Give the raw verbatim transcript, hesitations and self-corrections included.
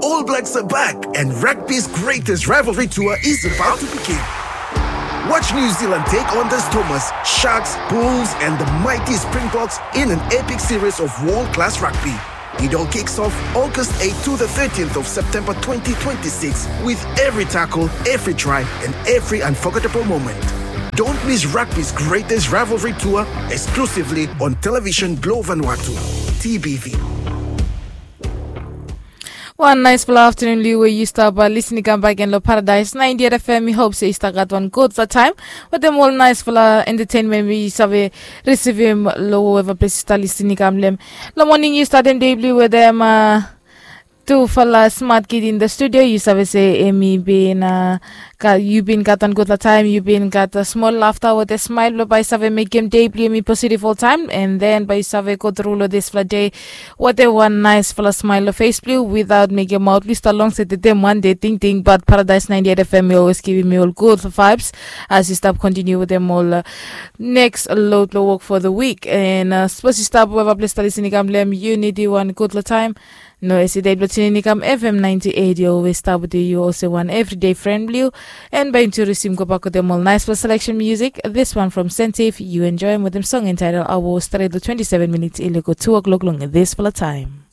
All Blacks are back, and rugby's greatest rivalry tour is about to begin. Watch New Zealand take on the Stormers, Sharks, Bulls, and the mighty Springboks in an epic series of world class rugby. It all kicks off August eighth to the thirteenth of September twenty twenty-six, with every tackle, every try, and every unforgettable moment. Don't miss rugby's greatest rivalry tour, exclusively on Television Globe Vanuatu, T B V. Wan naisfala aftanun blong yu we yu stap lisin i kam bak gen long Paradise ninety-eight F M. Mi hop se yu stap gat wan gudfala taem wetem ol naisfala entertainment we yu save risivim long whoever ples yu stap lisin i kam long em. Long moning yu statem dei blong yu wetem tufala smat kid in the studio. Yu save se em i bin yu bin gat wan gudfala taem, yu bin gat smol lafta wetem smael blong bae i save mekem dei blong yumi positiv oltaem, and then bae i save go tru long disfala dei wetem wan naesfala smael long fes blong yu without mekem maot blong yu stap long se tetem wan dei tingting. Bat Paradise ninety-eight F M i olwes givim mi ol gudfala vaebs as yu stap kontiniu wetem ol neks lod blong wok fo the wik. And sapos yu stap weva ples stap lisin i kam long em, yu nidim wan gudfala taem. No hesitate blong tunin i kam F M ninety-eight, yu olwes stap wetem yu olsem wan evridei fren blong yu. And bae yumi tu risim gobak wetem ol naesfala seleksen musik. This one from Sentive, yu enjoem wetem song entitled Awo, stret long twenty-seven minits i lego two o'clock long disfala taem.